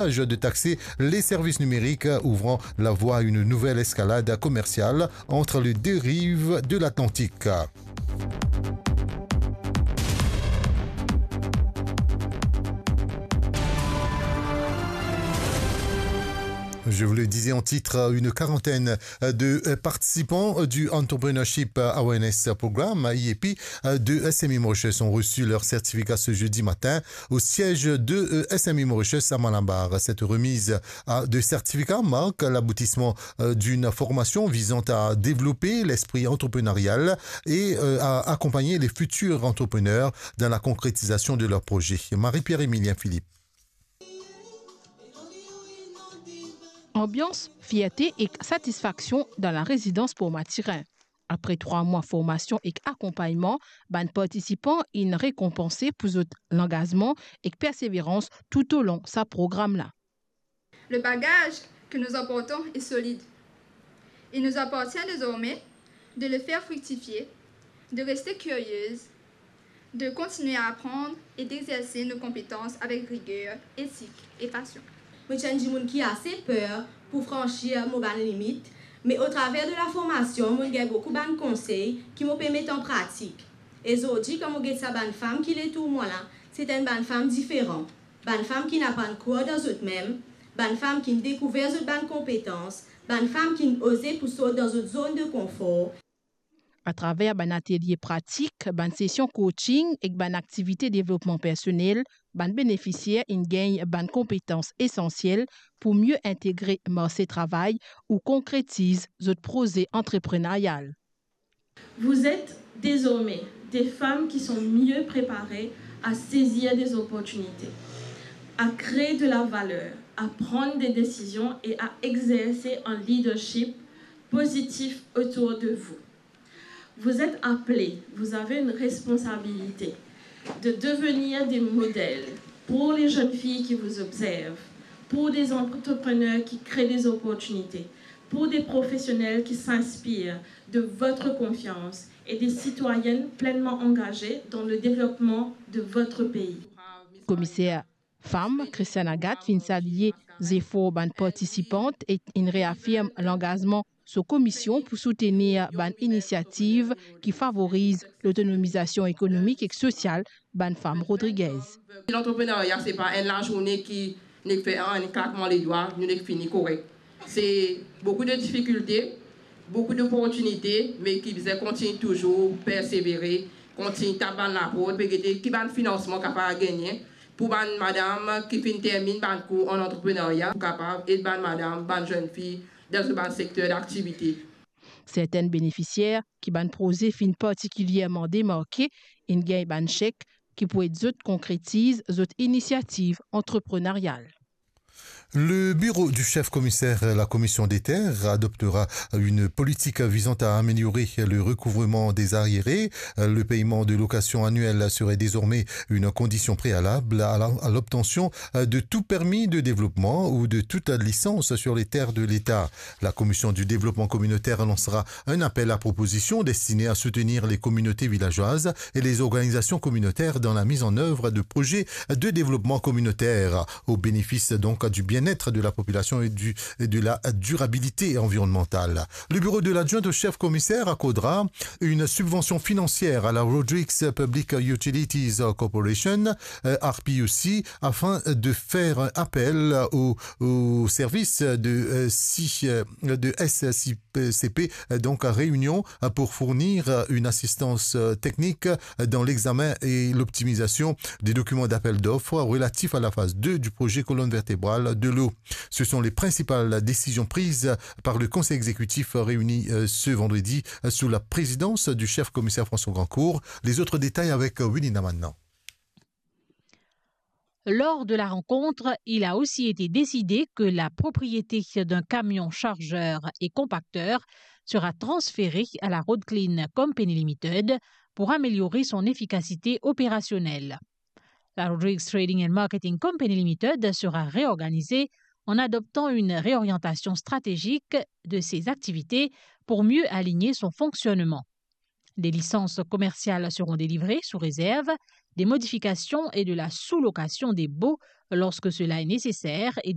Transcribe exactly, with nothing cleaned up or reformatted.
de taxer les services numériques, ouvrant la voie à une nouvelle escalade commerciale entre les deux rives de l'Atlantique. Je vous le disais en titre, une quarantaine de participants du Entrepreneurship Awareness Program, I A P, de S M E Mauritius ont reçu leur certificat ce jeudi matin au siège de S M E Mauritius à Malabar. Cette remise à- de certificat marque l'aboutissement d'une formation visant à développer l'esprit entrepreneurial et à accompagner les futurs entrepreneurs dans la concrétisation de leurs projets. Marie-Pierre Emilien Philippe. Anbians fierte ek satisfaksion dan larezidan Port Mathurin. Apre trwa mwa formasion ek akonpagnman, bann partisipan inn rekonpanse pou zot langazman ek perseverans toutolon sa program la. Le bagage que nous apportons est solide. Il nous appartient désormais de le faire fructifier, de rester curieuse, de continuer à apprendre et d'exercer nos compétences avec rigueur, éthique et passion. Mo ti enn dimoun ki ase per pou fransir mo bann limit, me atraver de la formasion, mo gagn boukou bann konsey ki mo pe met an pratik. E zordi, kan mo get sa bann fam ki letour mwa la, se enn bann fam diferan. Bann fam ki'nn aprann krwar dan zot mem, bann fam ki'nn dekouver zot bann konpetans, bann fam ki'nn oze pou sort dan zot zone de konfor. Atraver bann atelie pratik, bann sesion coaching ek bann aktivite devlopman personel, bann benefisier inn gagn bann konpetans esansiel pou mie integre marse travay ou konkretiz zot proze antrepreneryal. Vous êtes désormais des femmes qui sont mieux préparées à saisir des opportunités, à créer de la valeur, à prendre des décisions et à exercer un leadership positif autour de vous. Vous êtes appelées, vous avez une responsabilité de devenir des modèles pour les jeunes filles qui vous observent, pour des entrepreneurs qui créent des opportunités, pour des professionnels qui s'inspirent de votre confiance et des citoyennes pleinement engagées dans le développement de votre pays. Komiser fam, Christiane Agathe, finn salie zefor bann partisipant ek inn reafirm langazman so komisyon pou soutenir bann inisiativ ki favoriz lotonomizasion ekonomik ek sosial bann fam Rodriguez. Lantreprenerya, se pa enn lazourne ki nek fer an klakman ledwa, nou nek fini korek. Se boukou de difikilte, boukou doportinite, me ki bizin kontign touzour persevere, kontign tap bann laport, pe gete ki bann finansman kapav gagne pou bann madam ki finn terminn bann kour an lantreprenerya, pou kapav ed bann madam, bann zenn fi dan zot bann sekter daktivite. Sertenn benefisier ki bann proze finn partikilierman demarke, inn gagn bann sek ki pou ed zot konkretiz zot inisiativ antrepreneryal. Le bureau du chef commissaire à la commission des terres adoptera une politique visant à améliorer le recouvrement des arriérés. Le paiement de location annuelle serait désormais une condition préalable à la, à l'obtention de tout permis de développement ou de toute licence sur les terres de l'État. La commission du développement communautaire lancera un appel à propositions destiné à soutenir les communautés villageoises et les organisations communautaires dans la mise en œuvre de projets de développement communautaire, au bénéfice donc du bien-être de la population et du, et de la durabilité environnementale. Le bureau de l'adjoint au chef commissaire accordera une subvention financière à la Rodrigues Public Utilities Corporation, euh, R P U C, afin de faire appel au, au service de, euh, si, euh, de S C P, euh, donc à Réunion, euh, pour fournir, euh, une assistance, euh, technique, euh, dans l'examen et l'optimisation des documents d'appel d'offres relatifs à la phase deux du projet colonne vertébrale de l'eau. Ce sont les principales décisions prises par le Conseil exécutif réuni, euh, ce vendredi, euh, sous la présidence du chef commissaire François Grandcourt. Les autres détails avec, euh, Winnie Namanna. Lors de la rencontre, il a aussi été décidé que la propriété d'un camion chargeur et compacteur sera transférée à la Road Clean Company Limited pour améliorer son efficacité opérationnelle. La Rodrigues Trading and Marketing Company Limited sera réorganisée en adoptant une réorientation stratégique de ses activités pour mieux aligner son fonctionnement. Des licences commerciales seront délivrées sous réserve des modifications et de la sous-location des baux lorsque cela est nécessaire et